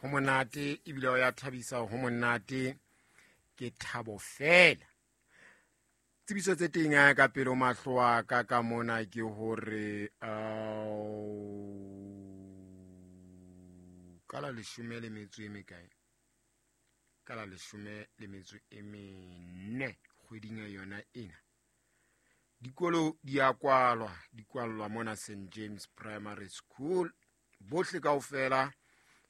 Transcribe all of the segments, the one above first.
Ho monate ebile o ya thabisa, ho monate ke thabo fela. Tsebiso tse teng ya ka pele ho mahlo a ka ka mona ke hore ka la leshome le metso e mekae, ka la leshome le metso e mene kgweding ya yona ena, dikolo di a kwalwa, di kwallwa mona St James Primary School. Bohle kaofela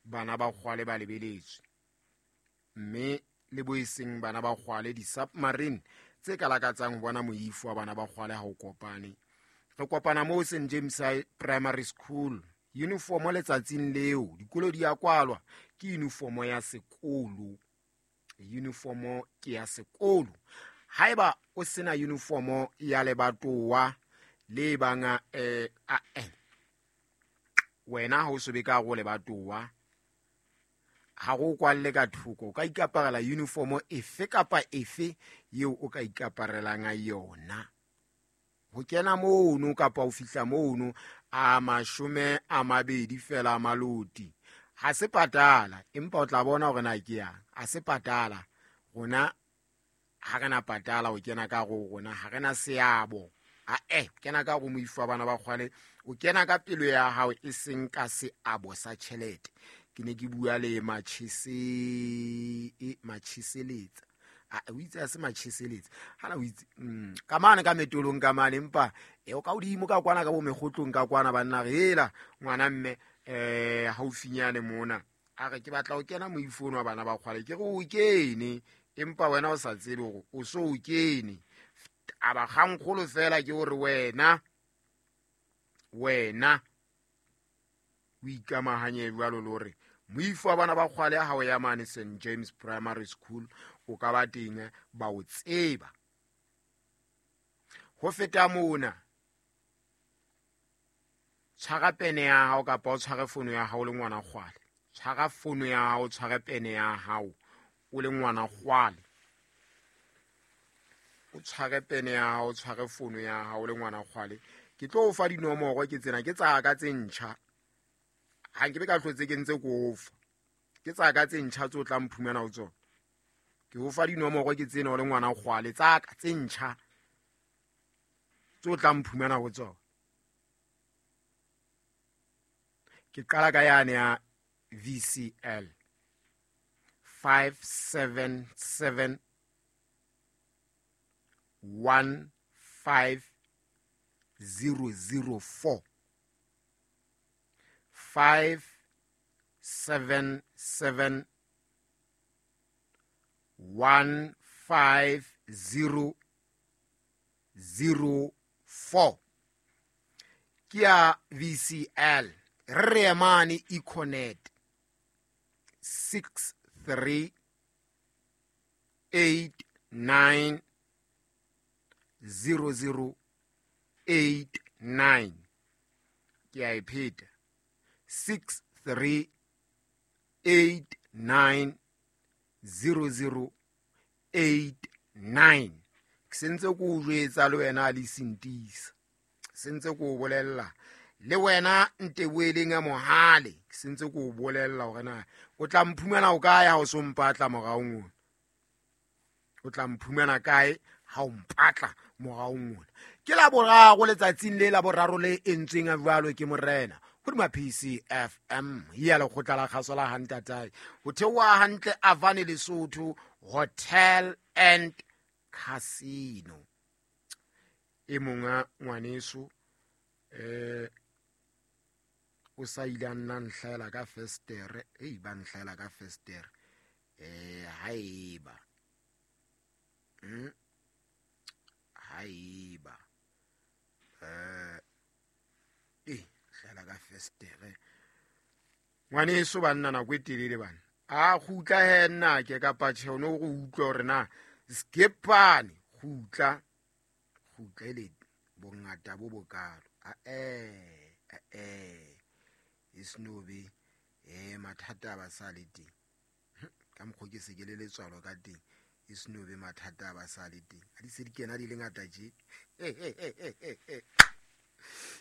bana ba kgwale ba lebeletswe, mme le bo e seng bana ba kgwale, di-submarine tse ka lakatsang ho bona moifo wa bana ba kgwale ha o kopane. Re kopana moo St James Primary School. Uniformo letsatsing leo dikolo di a kwalwa ke uniformo ya sekolo, uniformo ke ya sekolo. Haeba o sena uniformo ya lebatowa le bang wena ha o so be ka go lebatowa, ha go kwalle ka thoko, o ka ikaparela uniformo efe kapa efe eo o ka ikaparelang yona. Ho kena mono kapa ho fihla mono a 20 fela a maloti, ha se patala, empa o tla bona hore na ke yang. A se patala, rona ha re na patala ho kena ka go rona, ha re na seabo. A kena ka go moifo wa bana ba kgwale, o kena ka pelo ya hao e seng ka seabo sa tjhelete. Ke ne ke bua le Matjheseletsa. O itse a se Matjheseletsa. Hana o itse, ka mane ka metolong ka mane, empa o ka hodimo ka kwana ka bo mekgotlong ka kwana banna re hela ngwana mme haufinyane mona. A re ke batla ho kena moifo wa bana ba kgwale, ke re o kene, empa wena o sa tsebe hore o so o kene. A ba kgankgolo fela ke hore wena o ikamahanye jwalo le hore moifo wa bana ba kgwale ha o ya mane St James Primary School o ka ba teng ba o tseba. Ho feta mona, tshwara pene ya hao kapa o tshware fono ya hao le ngwana kgwale. Tshwara fono ya hao, tshware pene ya hao o le ngwana kgwale. O tshware pene ya hao, tshware fono ya hao le ngwana kgwale. Ke tlo o fa dinomoro ke tsena, ke tsa ka tse ntjha. Ha nke be ka hlotse ke ntse ke o fa. Ke tsa ka tse ntjha tse o tla mphumana ho tsona. Ke o fa dinomoro ke tsena o le ngwana kgwale, tsa ka tse ntjha tse o tla mphumana ho tsona. Ke qala ka yane ya VCL 577 15004. 577 15004. Ke ya VCL. Re emane Econet 6389 0089. Ke a e pheta. 6389 0089. Ke sentse ke o jwetsa le wena le sentisa. Sentse ke o bolella le wena Nteboeleng ya Mohale. Ke sentse ke o bolella hore na o tla mphumana o kae ha o so mpatla moraong ona. O tla mphumana kae ha o mpatla moraong ona. Ke la boraro letsatsing le la boraro le entsweng a jwalo ke morena hodima PCFM ya lekgotla la kgaso la Hantatae. Ho theoha hantle Avane Lesotho Hotel and Casino. E monga ngwaneso o sa ile a nna nhlaela ka festere, ei ba nhlaela ka festere. Haeba haeba hlaela ka festere ngwaneso banna nako e telele bana. A kgutla he nna ke kapa tjhe, o no go utlwa hore na skepane kgutla kgutla ele bongata bo bokalo. E snobe mathata a ba sa le teng. Ka mokgwa ke se ke le letswalo ka teng, e snobe mathata a ba sa le teng. Ha di se di kena di le ngata tje. E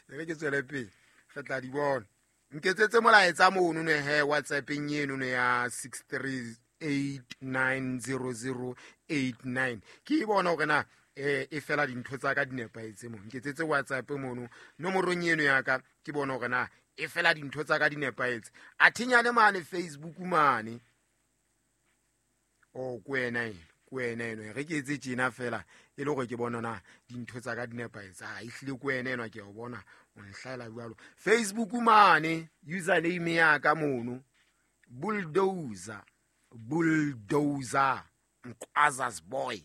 re ke tswele pele, re tla di bona. Nketsetse molaetsa mono ne he WhatsAppeng eno ne ya 638900089. Ke e bona hore na e fela dintho tsa ka di nepahetse mo. Nketsetse WhatsApp mono nomorong eno ya ka, ke bona hore na e fela dintho tsa ka di nepahetse. A thinyane mane Facebook mane. O ko wena eno, ko wena eno. Re ke etse tjena fela e le hore ke bona na dintho tsa ka di nepahetse. Ha ehlile ko wena eno ke o bona o nhlaela jwalo. Facebook mane username ya ka mono Bulldozer, Bulldozer Mqwaza's boy,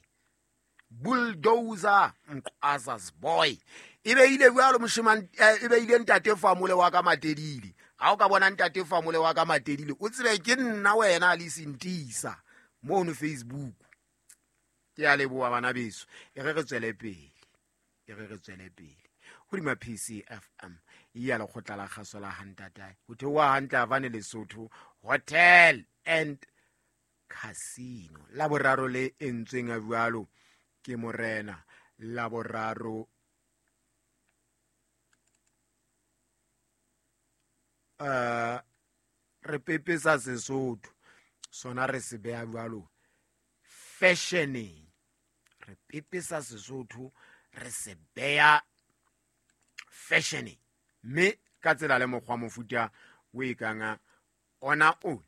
Bulldozer Mqwaza's boy. E beile jwalo moshemane, e beile ntate Famole wa ka Matedile. Ha o ka bona ntate Famole wa ka Matedile, o tsebe ke nna wena le Sentisa mono Facebook. Ke a leboha bana beso. E re re tswele pele, e re re tswele pele hodima PCFM ya lekgotla la kgaso la Hantatae. Ho theoha hantle Havane Lesotho Hotel and Casino. La boraro le entsweng a jwalo ke morena. La boraro re pepesa Sesotho sona re se beha jwalo fashioneng. Re pepesa Sesotho re se beha fashioneng, mme ka tsela le mokgwa mofuta o e kang ona ona.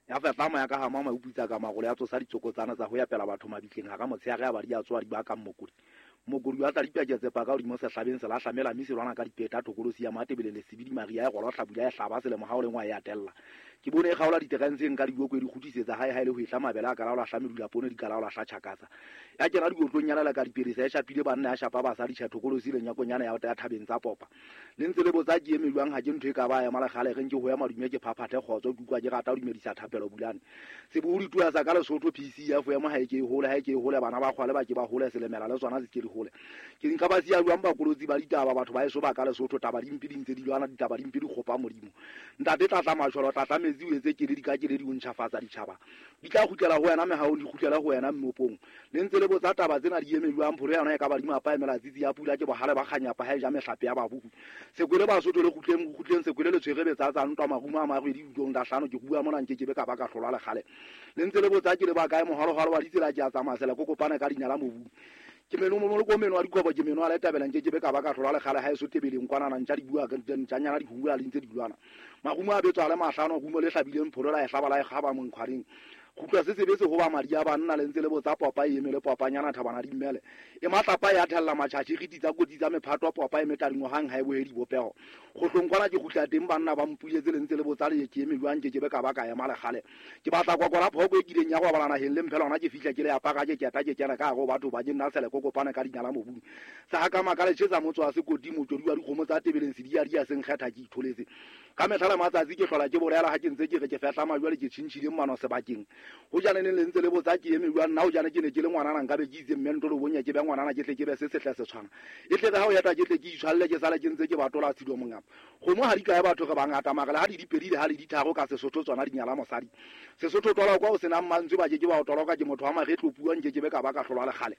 Ya fehla moya ka hama mauputsa ka magolo ya tsosa ditsokotsana tsa ho ya pela batho mabitleng hara motshehare ya ba di a tsoa di bakang mokodi. Mokodi wa tla dipaketse paka hodimo sehlabeng se lahlamela mme se lwana ka dipeta thokolosi ya Matebele le Sebidi Maria e rwalwa hlabula e hlaba selemo ha o lengwa e atella. Ke bone e kgaola diterenseng ka diboko e di kgutlisetsa hae ha e le ho ehla mabele a ka laola hla medula poone di ka laola hla tjhakatsa. Ya kena dikotlong ya lela ka dipelesa e shapile banna ya shapa basadi tjhe thokolosi le nyakonyana ya ya thabeng tsa popa. Le ntse le botsa ke eme jwang ha ke ntho e ka ba ema lekgale reng ke ho ya madume ke phaphathe kgotso ke utlwa ke rata ho dumedisa thapelo bulane. Sebohodi tua sa ka Lesotho PCF emo ha e ke e hole ha e ke e hole bana ba kgwale ba ke ba hole selemela le tsona se ke di hole. Ke nka ba siya jwang bakolotsi ba ditaba batho ba eso ba ka Lesotho taba dimpe di ntse di lwana ditaba dimpe di kgopa Modimo. Ntate tlatla matjholo tlatla metsi o etse keledi ka keledi o ntjhafatsa ditjhaba. Di tla kgutlela ho wena mehaong di kgutlele ho wena mmopong. Le ntse le botsa taba tsena di eme jwang pholo yona e ka ba di mapa emela tsitsi ya pula ke bohale ba kganyapa ha e ja mehlape ya babuku. Sekwele Basotho le kgutleng kgutleng sekwele le tshwere betsa tsa ntwa marumo a marwedi dutong la hlano ke bua mona nke ke be ka ba ka hlolwa lekgale. Le ntse le botsa ke le ba kae moholoholo wa ditsela ke a tsamaya sele kokopane ka dinyala mobung. Ke meno mo ko meno wa dikobo ke meno a le tabela nke ke be ka ba ka hlolwa lekgale ha eso tebeleng kwana na ntja di bua ke ntjanyana di hula le ntse di lwana. Marumo a betswa le mahlano rumo le hlabileng pholo la e hlaba la e kgaba monkgwareng. Kgutlwa se sebetse ho ba madi a banna le ntse le botsa popa e eme le popanyana thabana di mmele. E matlapa ya thella matjhatjhi riti tsa kotsi tsa mephato popa e metadingo hang ha e bohe dibopeho. Kgohlong kwana ke kgutla teng banna ba mpuletse le ntse le botsa le ke eme jwang ke ke be ka ba ka ema lekgale. Ke batla kwakwala phoko e kileng ya go bala naheng le mphela hona ke fihla ke le apara ke keta ke kena ka hare ho batho ba ke nna sele kokopane ka dinyala mobung. Sa ha ka makale tjhetsa motso wa sekoti motjodi wa dikgomo tsa tebeleng sedi ya di ya seng kgetha ke itholetse. Ka mehla le matsatsi ke hlola ke bolela ha ke ntse ke re ke fehla majwale ke tjhintjhile mmano sebakeng. Ho jane le ntse le botsa ke eme jwang nna ho jane ke ne ke le ngwanana nka be ke itse mme ntlo bonya ke be ngwanana ke tle ke be se setle se tshwana. E tle re ha o eta ke tle ke itshwalle ke sale ke ntse ke batola tshido mongapa. Kgomo ha di kae batho re bangata mara le ha di dipedi le ha le ditharo ka Sesotho tsona di nyala mosadi. Sesotho twala kwa o senang mantswe ba ke ke ba o toloka ke motho wa maretlo puo nke ke be ka ba ka hlolwa lekgale.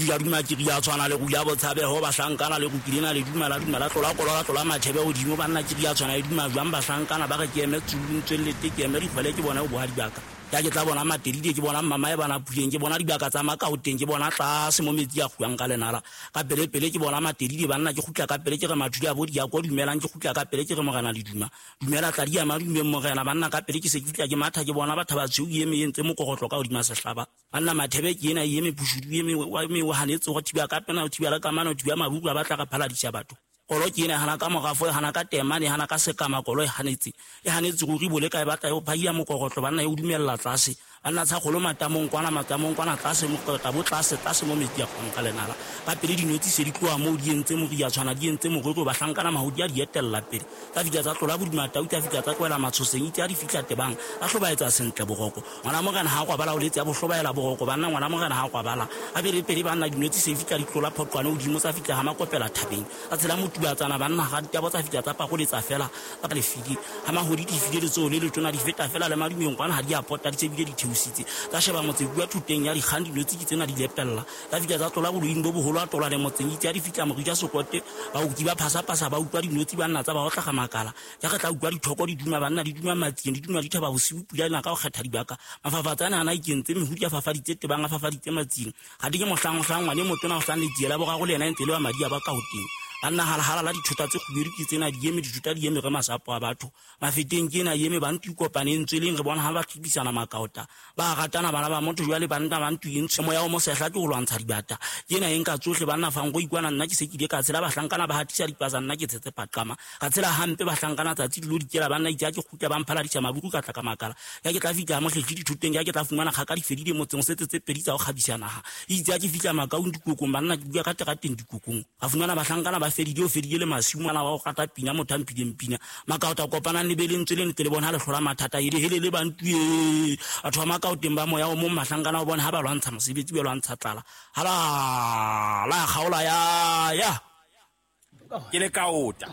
Ya duma ke ria tshwana le ruya botshabeho bahlankana le rukilena le dumela dumela tlola kolola tlola mathebe hodimo banna ke ria tshwana le duma jwang bahlankana ba re ke eme tsulung tswellete ke eme dikgwele ke bona o bohadi baka. Ya ke tla bona Matedile ke bona mama e bana puleng ke bona dibaka tsa Makaoteng ke bona tlase mo metsi a kguang ka lenala. Ka pele pele ke bona Matedile banna ke kgutla ka pele ke re mathudi a bo di a ko dumelang ke kgutla ka pele ke re morena le duma. Dumela tla di ama dumeng morena banna ka pele ke se ke fihla ke matha ke bona batho ba tshweu e eme e ntse mokorotlo ka hodima sehlaba. Banna mathebe ke ena e eme pushudu e eme wa eme wa hanetse go thiba ka pena o thiba le kamano o thiba mabuku a batla re phaladisa batho. Kolo ke ena hana ka morafo e hana ka temane e hana ka sekama kolo e hanetse. E hanetse ruri bole ka e batla e o phahia mokorotlo banna e o dumella tlase. Banna tsa kgolo matamong kwana tlase mokorotlo bo tlase tlase mo metsi a kgong ka lenala. Ka pele dinotsi se di tloha moo di entse moria tshwana di entse morero bahlankana mahodi a di etella pele. Tsa fihla tsa tlola bodima tau tsa fihla tsa tlohela matshoseng itse a di fihla tebang. A hlobaetsa sentle boroko. Ngwana morena ha kwabala o letse a bohlobaela boroko banna ngwana morena ha kwabala. A pele pele banna dinotsi se fihla di tlola phoqwane hodimo tsa fihla ha makopela thabeng. A tshela motubatsana banna ga ditabo tsa fihla tsa pakoletsa fela ka lefidi. Ha mahodi di file letsoho le letona di feta fela le madumeng kwana ha di a pota di tsebile di theosile. pholositse. Tsa sheba motse bua thoteng ya dikgang, dinotshi ke tsena di lepella. Tsa fihla tsa tlola boloing bo boholo, a tola le motseng. Itse ha di fihla morija sokote, baoki ba phasapasa, ba utlwa dinotshi banna tsa ba otla makala. Ja re tla utlwa dithoko di duma banna, di duma matsieng, di duma dithaba bosiu, pula ena ka ho kgetha dibaka. Mafafatsa ana a ikentse mehudi, a fafaditse tebang, a fafaditse matsieng. Ga di ke mohlang mohlang ngwane motona o hlang letsie la boraro le yena e ntse le wa madi a ba ka ho teng. Banna halahala la dithota tse kgubedu ke tsena di eme, dithota di eme re masapo a batho. Mafeteng ke ena eme, bantu kopaneng tsweleng re bona ha ba tlhibisana makaota. Ba ratana bana ba motho jwale banna ba ntu e ntshe moya o mosehla ke ho lwantsha dibata. Ke ena e nka tsohle banna fang go ikwana, nna ke se ke ile ka tshela bahlankana ba hatisa dipasa, nna ke tshetse paqama. Ka tshela hampe bahlankana tsatsi dilo dikela banna, itse ha ke kgutla ba mphaladisa maburu ka tla ka makala. Ya ke tla fihla mohlehli dithoteng, ya ke tla fumana kgaka di fedile motseng, setse tse pedi tsa ho kgabisa naha. Itse ha ke fihla makaung dikokong banna, ke bua ka terateng dikokong. Ka fumana bahlankana ba fedile, o fedile le masiu ngwana wa ho rata pina, motho a mphileng pina. Makaota kopanang le be lentswe le ntle le bona ha le hlola mathata, ele hele le bantu e. Batho ba makaoteng ba moya o mong mahlankana o bona ha ba lwantsha mosebetsi, ba lwantsha tlala. Hala la kgaola ya ya. Ke le kaota.